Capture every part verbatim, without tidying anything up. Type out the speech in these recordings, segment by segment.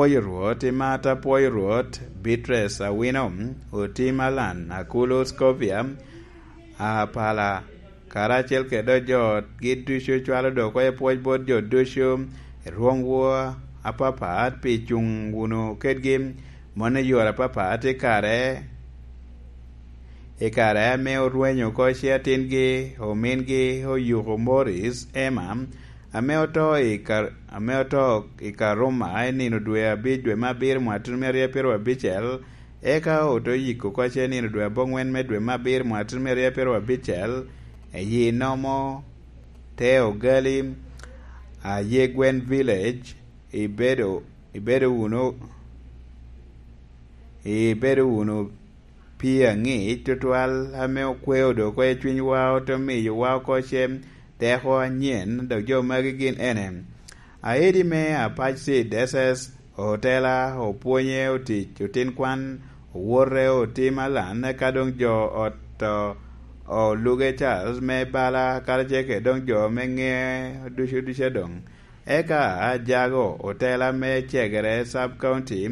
Apwoyo Rwot, i mat apwoyo Rwot, Beatrice Awino, Otim Alan, Akulu Scovia, Apala, karacel kede ojotgi ducu, cwalo dok oko i pwoc bot jo ducu i rwoŋwu apapat pi cuŋ wunu kedgi, mano i yore apapat i kare, i kare ame orwenyo oko ce atingi, omingi Oyuko Morris Emma, ame oto i Kar-, ame oto i Karuma i nino dwe abic, dwe me abiro, mwaka tuno me aryo apiro abicel, eka oto yiko oko ce nino dwe aboŋwen me dwe me abiro, mwaka tuno me aryo apiro abicel, i Nomo te Ogali, a Yegwen Village. Ibedo, ibedo wunu, ibedo wunu pii aŋic tutwal ame okweo dok oko i cwinywa, ote miyowa oko ce teko anyen, dok jo magi gin ene: Aedi me Apac Seed S S, otela, opwonye otic, otin kwan, owote, Otim Alan, eka doŋ jo ot, o, Oluge Charles me bala, karacel kede doŋ jo me ŋe ducu ducu adoŋ. Eka ajago otela me Cegere Sub County,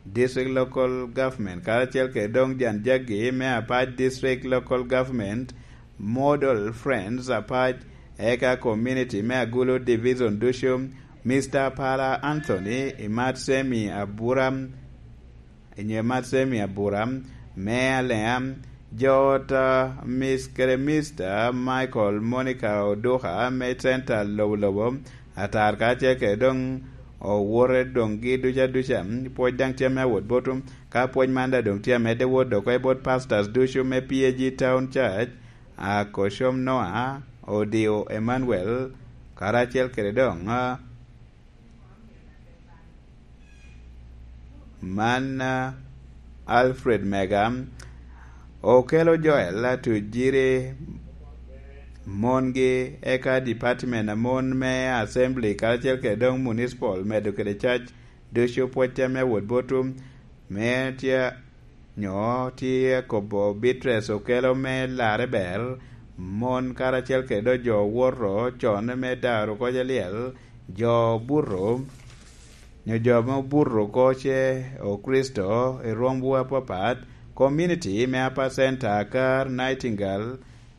District Local Government, karacel kede doŋ jan jaggi me Apac District Local Government, Model Friends Apac, eka community me Agulu Division ducu, Mister Pala Anthony, i mat Semi Abura, i nyo i mat Semi Abura, me Alea, jo ot, a, Miss kede Mister Michael Monica Oduka, me Center Lobo Lobo, atar karacel kede doŋ owote doŋgi duca duca, pwoc daŋ tye ame awot botu, ka pwoc man daŋ doŋ tye amedde wot dok oko i bot pastors ducu me P A G Town Church, a Koshom Noah, Odio Emmanuel, karacel kede doŋ, a, man, a, Alfred Mega, Okelo Joel, a Tujiri, mongi, eka department a mon me assembly, karacel kede doŋ municipal, medo kede cac ducu pwocca me wot botu, me tye, nyo tye kobo Beatrice Okelo me larre ber, mon karacel kede doŋ jo owoto con me daro koc alyel, jo obuto, nyo jo ame obuto oko ce Okricito i rwomwu apapat, community me Upper Center, Akar, Nightingale,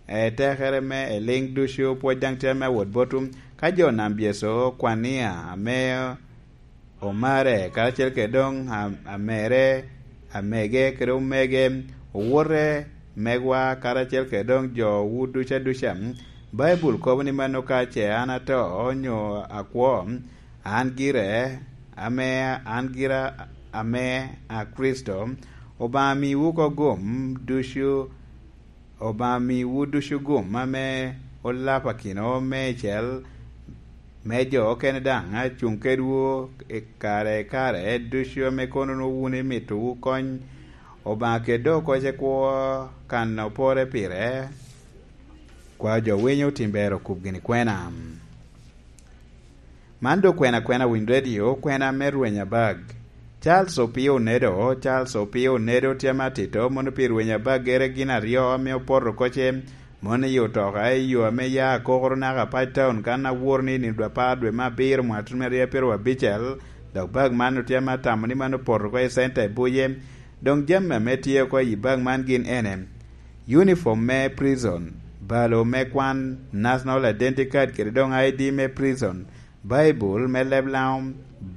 etekere me eliŋ ducu, pwoc daŋ tye ame awot botu. Ka jo nam Yecu, Kwania, ame omare, karacel kede doŋ a-, amere, amege kede omege, owote, megwa, karacel kede doŋ jowu duca duca. Baibul kobo ni mano ka ce an ato, nyo akwo, an gire, ame, an gira ame a Kricito, Obaŋa miwu oko gum ducu, Obaŋa miwu ducu gum ame olapakino meicel, me jo okene daŋ a cuŋ kedwu i kare i kare ducu ame kono wun imito wu kony. Obaŋa kede oko ce kwo kan opore pire. Kwa jo winyo tim ber okub gini kwena. Man doŋ kwena kwena Winy Radio, kwena me rweny abag. Charles Opio Onedo, Charles Opio Onedo tye ame atito, mono pi rweny abagere gin aryo ame opoto oko ce, mono i otoka i yo ame ya akokoro naka Apac Town, kan awor ni nino dwe apar dwe me abiro mwaka tuno me aryo apiro abicel, dok bag man otye ame atamo ni man opoto oko i center i Buye. Doŋ jami ame tye oko i bag man gin ene: uniform me prison, balo me kwan, national identity card kede doŋ I D me prison, Baibul me leb Laŋo,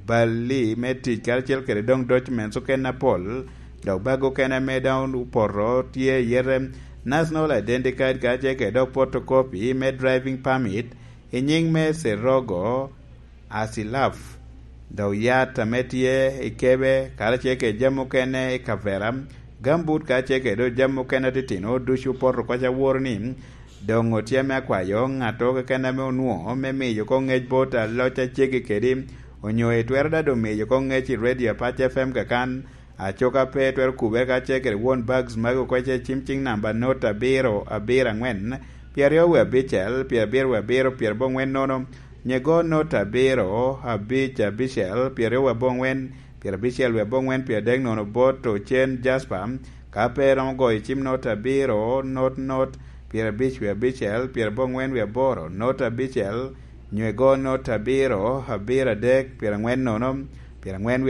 balli me tic karacel kede doŋ documents okene apol, dok bag okene ame doŋ opoto tye i yete, national identity card karacel kede doŋ photocopy me driving permit, i nyiŋ me Serogo, Asilaf, dok yat ame tye i kebe, karacel kede jami okene i kavera, gambut karacel kede doŋ jami okene atitino ducu opoto oko ce, aworo ni doŋ otye ame akwayo ŋattoro keken ame onwoŋo me miyo oko ŋec bot aloc a ceggi kedi, onyo itwero daŋ doŋ miyo oko ŋec i Radio Apac F M kakan, acoka pe twero kubere karacel kede won bags magi oko ce, cim ciŋ namba not abiro abiro aŋwen, pyeraryo wie abicel, pyerabiro wie abiro, pyeraboŋwen nono, nyego not abiro abic abicel, pyeraryo wie aboŋwen, pyerabicel wie aboŋwen, pyeradek nono bot ocen Jasper, ka pe iromo goyo cim not abiro, not, not, pyerabic wie abicel, pyeraboŋwen wie aboro, not abicel, nywego not abiro, abiro adek, pyeraŋwen nono, pyeraŋwen